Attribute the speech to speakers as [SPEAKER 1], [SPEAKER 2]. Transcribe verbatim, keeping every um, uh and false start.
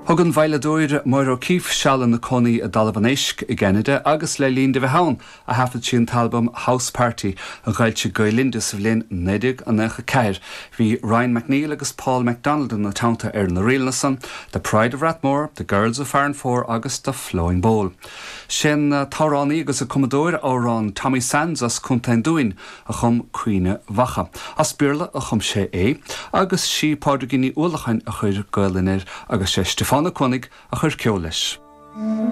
[SPEAKER 1] Thug an veidhleadóir Máire O'Keeffe seal ina cónaí i dTalamh an Éisc i gCeanada agus le linn di bheith ann a thaifead sí an t-albam House Party a d'fhoilsigh Gael-Linn sa bhliain naoi déag nócha ceathair. Bhí Ryan McNeil agus Paul McDonald ina teannta ar na ríleanna san, The Pride of Rathmore, The Girls of Farranfore agus The Flowing Bowl. Sé'n t-amhránaí agus an cumadóir amhrán Tommy Sands as Contae an Dúin a chum Caoineadh Mhacha. As Béarla a chum sé é, agus sí Pádraigín Ní Uallacháin a chuir Gaelainn air agus sé Stiofán Ó Cuanaigh a chuir ceol leis.